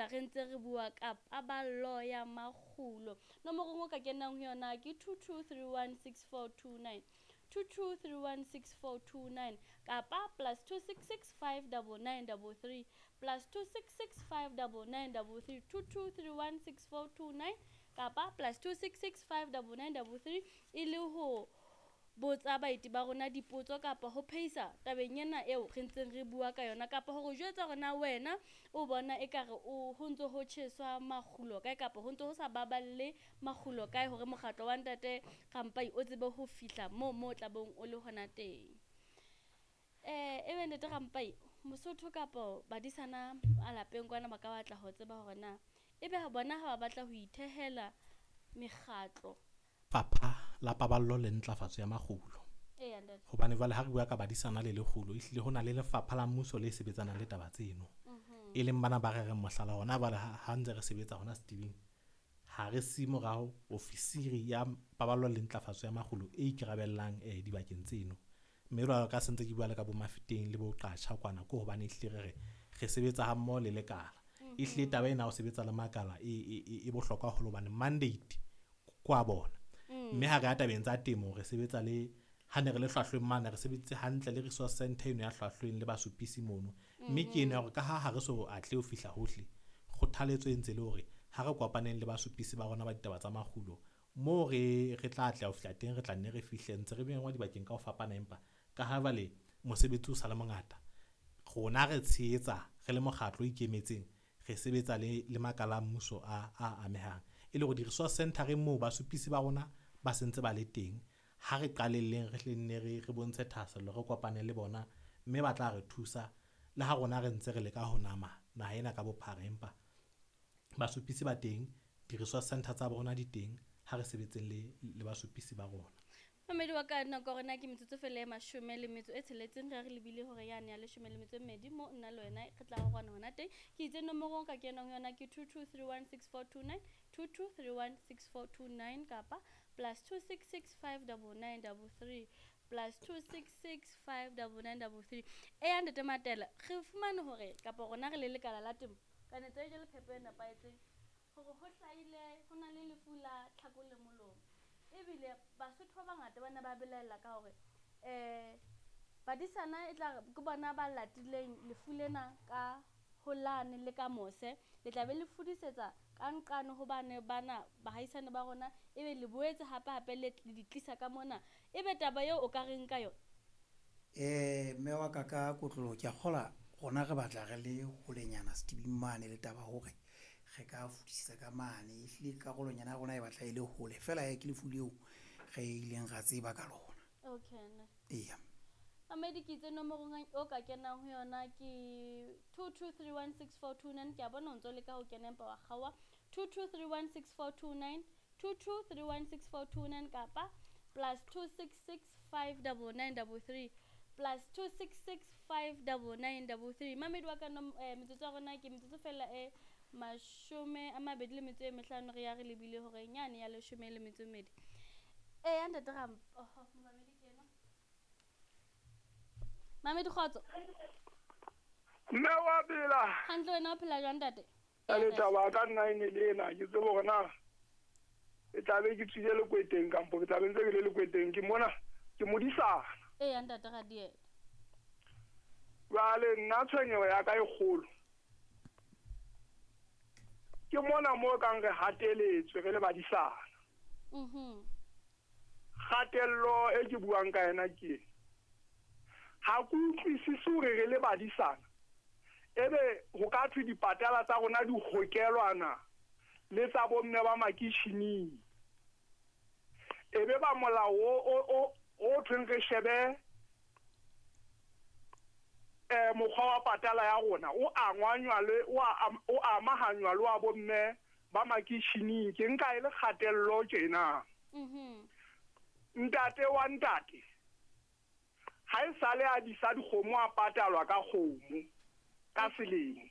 Hoja re ntse re bua ka paballo ya makgulo. Nomorong o ka kenang ho yona ke 22316429, 22316429 kapa +266 59933, +266 59933, 22316429 kapa +266 59933, e le ho botsa baeti ba rona dipotso kapa ho phehisa tabeng ena eo re ntseng re bua ka yona, kapa hore jwetsa hore na wena o bona ekare o ho ntso ho tjheswa makgulo kae kapa ho ntso ho sa baballe makgulo kae hore mokgatlo wa ntate Rampai o tsebe ho fihla moo mo tlabeng o le hona teng. Ebe ntate Rampai, Mosotho kapa badisana a lapeng kwana ba ka batla ho tseba hore na ebe bona ha ba batla ho ithehela mekgatlo. Fapha la Paballo le Ntlafatso ya Makgulo. Eya, ntate. Hobane jwale ha re bua ka badisana le lekgulo, ehlile ho na le lefapha la mmuso le sebetsanang le taba tseno. E leng bana ba re reng mohlala hona jwale ha ntse re sebetsa hona Setibing, ha re si morao ofisiri ya Paballo le Ntlafatso ya Makgulo e ikarabellang dibakeng tseno. Mme jwalo ka se ntse ke bua le ka bo Mafeteng le bo Qatjha kwana, ke hobane ehlile re re re sebetsa ha mmoho le lekala. Ehlile taba ena ya ho sebetsa le makala e bohlokwa haholo hobane mandate kwa bona. Mme ha re ya tabeng tsa temo, re sebetsa le ha ne re le hlwahlweng mane, re sebeditse hantle le resource center eno ya hlwahlweng le basupisi mono. Mme ke eno ya hore ka ha re so atle ho fihla hohle, kgothaletso e ntse le hore ha re kopaneng le basupisi ba rona ba ditaba tsa makgulo, moo re tla atleha ho fihla teng, re tla nne re fihle ntse re mengwa dibakeng ka ho fapana. Empa ka ha jwale mosebetsi o sa le mongata, rona re tshehetsa re le mokgatlo o ikemetseng, re sebetsa le makala a mmuso a amehang. E le hore di-resource center moo basupisi ba rona ba sentse ba le teng, ha re qalelleng re hle nne re bontshe thahasello, re kopane le bona, mme ba tla re thusa le ha rona re ntse re leka ho nama naha ena ka bophara. Empa basupisi ba teng, di-resource center tsa bona di teng, ha re sebetseng le basupisi ba rona. Mamedi wa ka, nako ya rona ke metsotso fela e 16, re re lebile hore yane ya 12 mo nna le wena re tla rona hona teng. Ke itse nomorong ka kenang yona ke 22316429, 22316429 kapa +266 59933, +266 59933. Eya ntate Matela, re fumane hore kapa rona re le lekala la temo kanetso e jalo phepo e nepahetseng hore ho hlahile ho na le lefu la tlhako le molomo. Ebile Basotho ba bangata ba ne ba belaella ka hore badisana e tla ke bona ba latileng lefu lena ka holane le ka mose, le tla be le fudisetsa ka nqane hobane bana bahaisane ba rona, ebe le boetse hape hape le di tlisa ka mona. Ebe taba eo o ka reng ka yona? Mme wa ka ka kotloloho, ke a kgolwa rona re batla re le holenyana Setibing mane le taba hore re ka fudisa ka mane. Ehlile karolonyana ya rona e batla e le hole feela ke lefu leo re ileng ra tseba ka lona. Okay, ne. Eya. Mamedi, ke itse nomorong o ka kenang ho yona ke 22316429. Ke a bona o ntso leka ho kena empa wa kgaoha. 22316429, 22316429 kapa +266 59933, +266 59933. Mamedi wa ka, metsotso ya rona ke metsotso fela e 25, re ya re lebile hore nyane ya 12. Eya ntate Ramp, oho, momamedi ke ena. Mamedi, kgotso. Mme wa phela. Hantle, wena o phela jwang ntate? Le taba ka nna e ne le ena, ke tsebe hore na e tla be ke tswile lekweteng kampo ke tla be ntse ke le lekweteng, ke mona ke modisana. Eya ntate Radiela. Jwale nna tshwenyeho ya ka e kgolo ke mona mo kang re hateletswe re le badisana. Kgatello e ke buang ka yona ke ha ke utlwisise hore re le badisana ebe ho ka thwe dipatala tsa rona di hokelwana le tsa bomme ba makitjhining, ebe ba molao o thweng re shebe mokgwa wa patala ya rona o angwanywa le o amahanywa le wa bomme ba makitjhining. Ke nka e le kgatello tjena. Ntate wa ntate ha e sale a disa dikgomo a patalwa ka kgomo ka selemo.